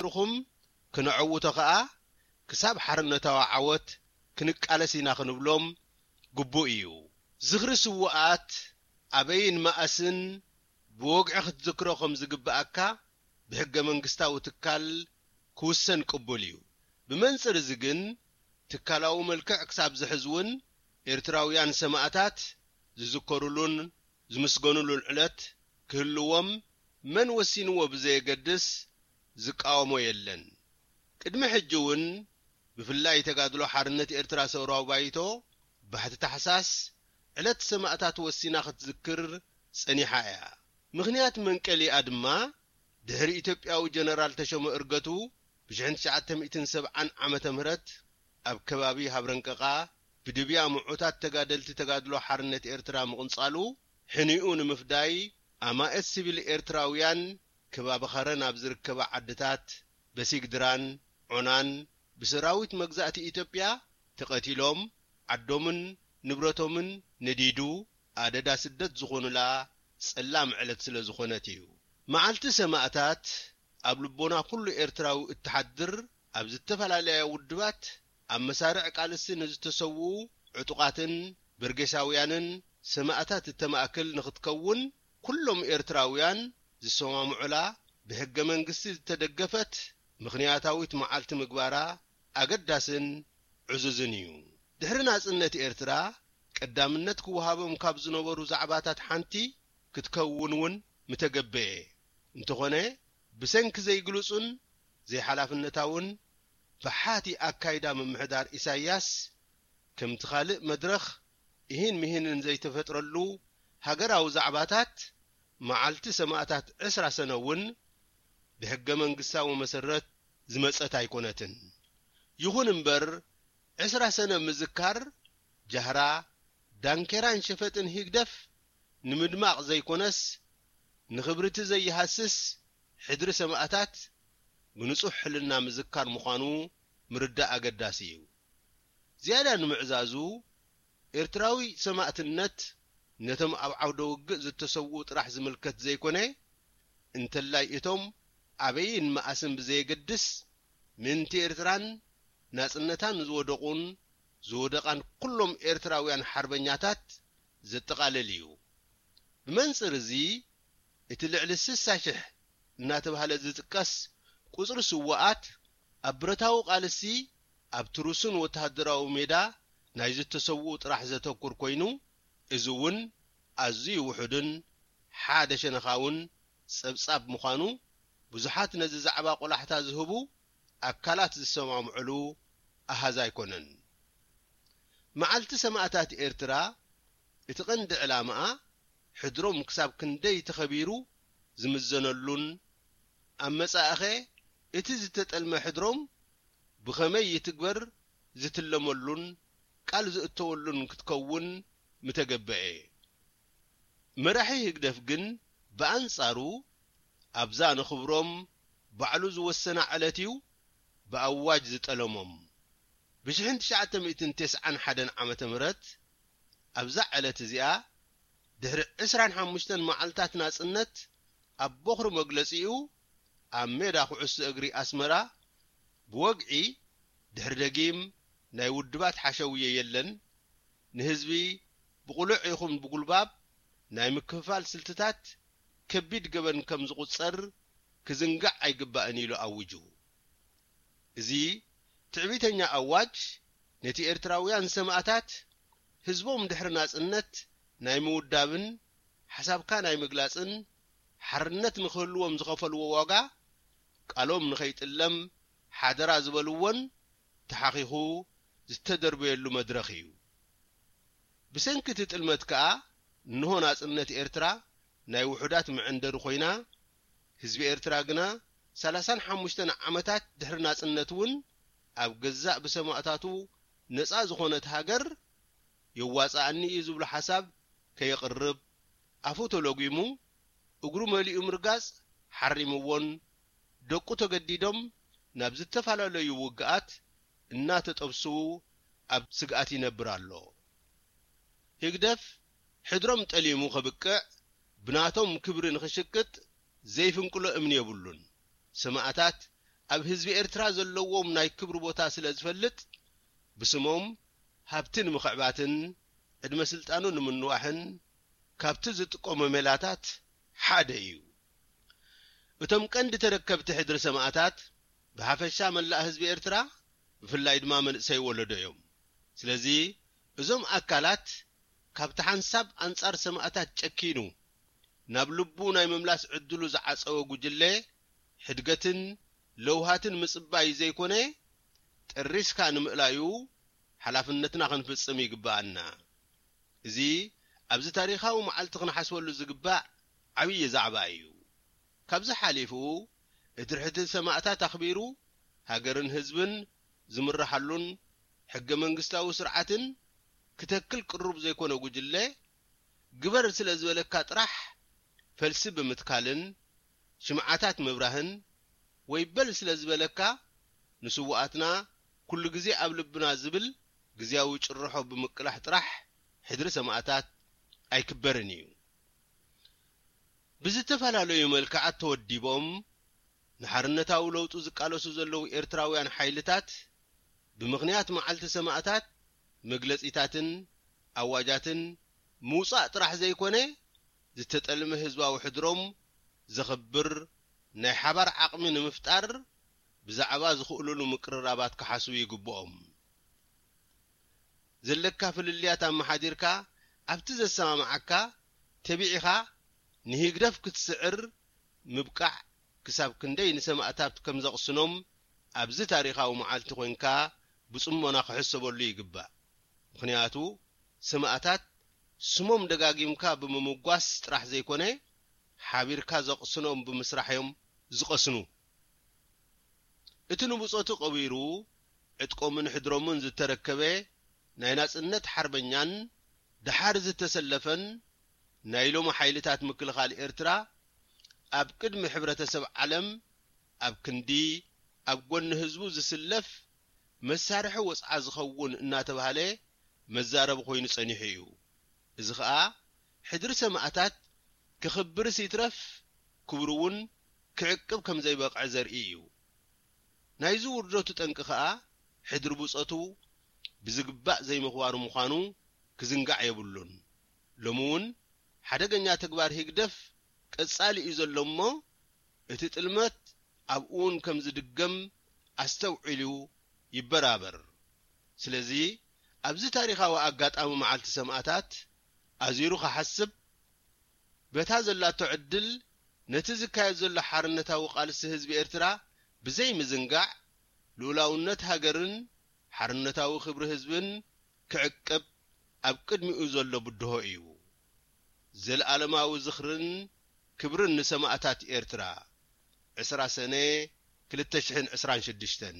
ርኹም ክነዐውቶ ከኣ ክሳብ ሓርነታዊ ዓወት ክንቃለስ ኢና ክንብሎም ግቡእ እዩ። ዝኽሪ ስዉኣት ኣበይን መኣስን ብወግዒ ክትዝክሮ ከም ዝግብኣካ ብሕገ መንግስታዊ ትካል ክውሰን ቅቡል እዩ። ብመንጽር እዚ ግን ትካላዊ መልክዕ ክሳብ ዝሕዝ እውን ኤርትራውያን ሰማእታት ዝዝከሩሉን ዝምስገኑሉን ዕለት ክህልዎም መን ወሲንዎ ብዘየገድስ ዝቃወሞ የለን። ቅድሚ ሕጂ እውን ብፍላይ ተጋድሎ ሓርነት ኤርትራ ሰውራዊ ባይቶ ባሕቲ ታሕሳስ ዕለት ሰማእታት ወሲና ክትዝክር ጸኒሓ እያ። ምኽንያት መንቀሊኣ ድማ ድሕሪ ኢትዮጵያዊ ጀነራል ተሾመ እርገቱ ብ1970 ዓመተ ምህረት ኣብ ከባቢ ሃብረንቀቓ ብድብያ ምዑታት ተጋደልቲ ተጋድሎ ሓርነት ኤርትራ ምቕንጻሉ ሕኒኡ ንምፍዳይ ኣማእት ሲቪል ኤርትራውያን ከባቢ ኸረን ኣብ ዝርከባ ዓድታት በሲግድራን ዖናን ብሰራዊት መግዛእቲ ኢትዮጵያ ተቐቲሎም ዓዶምን ንብረቶምን ነዲዱ ኣደዳ ስደት ዝኾኑላ ጸላም ዕለት ስለ ዝኾነት እዩ። መዓልቲ ሰማእታት ኣብ ልቦና ኩሉ ኤርትራዊ እትሓድር ኣብ ዝተፈላለያ ውድባት ኣብ መሳርዕ ቃልሲ ንዝተሰውኡ ዕጡቓትን በርጌሳውያንን ሰማእታት እተማእክል ንኽትከውን ኩሎም ኤርትራውያን ዝሰማምዑላ ብሕገ መንግስቲ ዝተደገፈት ምኽንያታዊት መዓልቲ ምግባራ ኣገዳስን ዕዙዝን እዩ። ድሕሪ ናጽነት ኤርትራ ቀዳምነት ክወሃቦም ካብ ዝነበሩ ዛዕባታት ሓንቲ ክትከውን እውን ምተገበኤ። እንተኾነ ብሰንኪ ዘይግሉጽን ዘይሓላፍነታውን ብሓቲ ኣካይዳ ምምሕዳር ኢሳያስ ከምቲ ካልእ መድረኽ እሂን ምሂንን ዘይተፈጥረሉ ሃገራዊ ዛዕባታት መዓልቲ ሰማእታት ዕስራ ሰነ እውን ብሕገ መንግስታዊ መሰረት ዝመጸት ኣይኮነትን። ይኹን እምበር ዕስራ ሰነ ምዝካር ጃህራ፣ ዳንኬራን ሸፈጥን ህግደፍ ንምድማቕ ዘይኮነስ ንኽብሪ እቲ ዘይሃስስ ሕድሪ ሰማእታት ብንጹሕ ሕልና ምዝካር ምዃኑ ምርዳእ ኣገዳሲ እዩ። ዝያዳ ንምዕዛዙ ኤርትራዊ ሰማእትነት ነቶም ኣብ ዓውደ ውግእ ዝተሰውኡ ጥራሕ ዝምልከት ዘይኮነ እንተላይ እቶም ኣበይን መኣስን ብዘየገድስ ምእንቲ ኤርትራን ናጽነታን ዝወደቑን ዝወደቓን ኩሎም ኤርትራውያን ሓርበኛታት ዘጠቓልል እዩ። ብመንጽር እዚ እቲ ልዕሊ ስሳ ሽሕ እናተባህለ ዝጥቀስ ቁጽሪ ስዉኣት ኣብ ብረታዊ ቃልሲ ኣብቲ ርሱን ወተሃደራዊ ሜዳ ናይ ዝተሰውኡ ጥራሕ ዘተኩር ኮይኑ እዚ እውን ኣዝዩ ውሑድን ሓደ ሸነኻውን ጸብጻብ ምዃኑ ብዙሓት ነዚ ዛዕባ ቆላሕታ ዝህቡ ኣካላት ዝሰማምዑሉ ኣሃዝ ኣይኮነን። መዓልቲ ሰማእታት ኤርትራ እቲ ቀንዲ ዕላማኣ ሕድሮም ክሳብ ክንደይ ተኸቢሩ ዝምዘነሉን ኣብ መጻኢኸ እቲ ዝተጠልመ ሕድሮም ብኸመይ ይትግበር ዝትለመሉን ቃል ዝእተወሉን ክትከውን ምተገበኤ። መራሒ ህግደፍ ግን ብኣንጻሩ ኣብዛ ንኽብሮም ባዕሉ ዝወሰና ዕለት እዩ ብኣዋጅ ዝጠለሞም። ብ1991 ዓመተ ምህረት ኣብዛ ዕለት እዚኣ ድሕሪ 25 መዓልታት ናጽነት ኣብ ቦኽሪ መግለጺኡ ኣብ ሜዳ ኩዕሶ እግሪ ኣስመራ ብወግዒ ድሕሪ ደጊም ናይ ውድባት ሓሸውየ የለን፣ ንህዝቢ ብቕሉዕ ይኹን ብጉልባብ ናይ ምክፍፋል ስልትታት ከቢድ ገበን ከም ዝቑጸር ክዝንጋዕ ኣይግባእን ኢሉ ኣዊጁ። እዚ ትዕቢተኛ ኣዋጅ ነቲ ኤርትራውያን ሰማእታት ህዝቦም ድሕሪ ናጽነት ናይ ምውዳብን ሓሳብካ ናይ ምግላጽን ሓርነት ንኽህልዎም ዝኸፈልዎ ዋጋ ቃሎም ንኸይጥለም ሓደራ ዝበልዎን ተሓኺኹ ዝተደርበየሉ መድረኽ እዩ። ብሰንኪ እቲ ጥልመት ከኣ እንሆ ናጽነት ኤርትራ ናይ ውሑዳት መዐንደሪ ኮይና ህዝቢ ኤርትራ ግና 35 ዓመታት ድሕሪ ናጽነት እውን ኣብ ገዛእ ብሰማእታቱ ነጻ ዝኾነት ሃገር የዋጽኣኒ እዩ ዝብሎ ሓሳብ ከየቕርብ ኣፉ ተሎጒሙ እግሩ መሊኡ ምርጋጽ ሓሪምዎን ደቁ ተገዲዶም ናብ ዝተፈላለዩ ውግኣት እናተጠብሱ ኣብ ስግኣት ይነብር ኣሎ። ህግደፍ ሕድሮም ጠሊሙ ከብቅዕ ብናቶም ክብሪ ንኽሽቅጥ ዘይፍንቅሎ እምኒ የብሉን። ሰማእታት ኣብ ህዝቢ ኤርትራ ዘለዎም ናይ ክብሪ ቦታ ስለ ዝፈልጥ፣ ብስሞም ሃብቲ ንምኽዕባትን ዕድመ ስልጣኑ ንምንዋሕን ካብቲ ዝጥቀሞ ሜላታት ሓደ እዩ። እቶም ቀንዲ ተረከብቲ ሕድሪ ሰማእታት ብሓፈሻ መላእ ህዝቢ ኤርትራ፣ ብፍላይ ድማ መንእሰይ ወለዶ እዮም። ስለዚ እዞም ኣካላት ካብቲ ሓንሳብ ኣንጻር ሰማእታት ጨኪኑ ናብ ልቡ ናይ ምምላስ ዕድሉ ዝዓጸወ ጉጅለ፣ ሕድገትን ለውሃትን ምጽባይ ዘይኮነ፣ ጠሪስካ ንምእላዩ ሓላፍነትና ክንፍጽም ይግብኣና። እዚ ኣብዚ ታሪኻዊ መዓልቲ ክንሓስበሉ ዝግባእ ዓብዪ ዛዕባ እዩ። ካብዚ ሓሊፉ፣ እቲ ሕድሪ ሰማእታት ኣኽቢሩ፣ ሃገርን ህዝብን ዝምርሓሉን ሕገ መንግስታዊ ስርዓትን ክተክል ቅሩብ ዘይኮነ ጉጅለ፣ ግበር ስለ ዝበለካ ጥራሕ ፈልሲ ብምትካልን ሽምዓታት ምብራህን፣ ወይ በል ስለ ዝበለካ ንስውኣትና ኩሉ ግዜ ኣብ ልብና ዝብል ግዝያዊ ጭርሖ ብምቅላሕ ጥራሕ ሕድሪ ሰማእታት ኣይክበርን እዩ። ብዝተፈላለዩ መልክዓት ተወዲቦም ንሓርነታዊ ለውጡ ዝቃለሱ ዘለዉ ኤርትራውያን ሓይልታት፣ ብምኽንያት መዓልቲ ሰማእታት መግለጺታትን ኣዋጃትን ምውጻእ ጥራሕ ዘይኮነ፣ ዝተጠልመ ህዝባዊ ሕድሮም ዘኽብር ናይ ሓባር ዓቕሚ ንምፍጣር ብዛዕባ ዝኽእሉሉ ምቅርራባት ክሓስቡ ይግብኦም። ዘለካ ፍልልያት ኣመሓዲርካ፣ ኣብቲ ዘሰማምዓካ ተቢዕኻ ንህግደፍ ክትስዕር ምብቃዕ ክሳብ ክንደይ ንሰማእታት ከም ዘቕስኖም ኣብዚ ታሪኻዊ መዓልቲ ኮይንካ ብጽሞና ክሕሰበሉ ይግባእ። ምኽንያቱ ሰማእታት ስሞም ደጋጊምካ ብምምጓስ ጥራሕ ዘይኮነ፣ ሓቢርካ ዘቕስኖም ብምስራሕ እዮም ዝቐስኑ። እቲ ንብጾቱ ቀቢሩ ዕጥቆምን ሕድሮምን ዝተረከበ ናይ ናጽነት ሓርበኛን ደሓር ዝተሰለፈን ናይ ሎሚ ሓይልታት ምክልኻል ኤርትራ፣ ኣብ ቅድሚ ሕብረተሰብ ዓለም ኣብ ክንዲ ኣብ ጎኒ ህዝቡ ዝስለፍ መሳርሒ ወጽዓ ዝኸውን እናተባህለ መዛረቢ ኮይኑ ጸኒሑ እዩ። እዚ ኸኣ ሕድሪ ሰማእታት ክኽብርስ ይትረፍ ክብሩ እውን ክዕቅብ ከም ዘይበቕዐ ዘርኢ እዩ። ናይዚ ውርደቱ ጠንቂ ኸኣ ሕድሪ ብጾቱ ብዝግባእ ዘይምኽባሩ ምዃኑ ክዝንጋዕ የብሉን። ሎሚ እውን ሓደገኛ ተግባር ህግደፍ ቀጻሊ እዩ ዘሎ እሞ፣ እቲ ጥልመት ኣብኡ እውን ከም ዝድገም ኣስተውዒሉ ይበራበር። ስለዚ ኣብዚ ታሪኻዊ ኣጋጣሚ መዓልቲ ሰማእታት ኣዚሩ ክሓስብ፣ በታ ዘላቶ ዕድል ነቲ ዝካየድ ዘሎ ሓርነታዊ ቃልሲ ህዝቢ ኤርትራ ብዘይምዝንጋዕ፣ ልኡላውነት ሃገርን ሓርነታዊ ክብሪ ህዝብን ክዕቅብ ኣብ ቅድሚኡ ዘሎ ብድሆ እዩ። ዘለኣለማዊ ዝኽርን ክብርን ንሰማእታት ኤርትራ። ዕስራ ሰነ ክልተ ሽሕን ዕስራን ሽዱሽተን።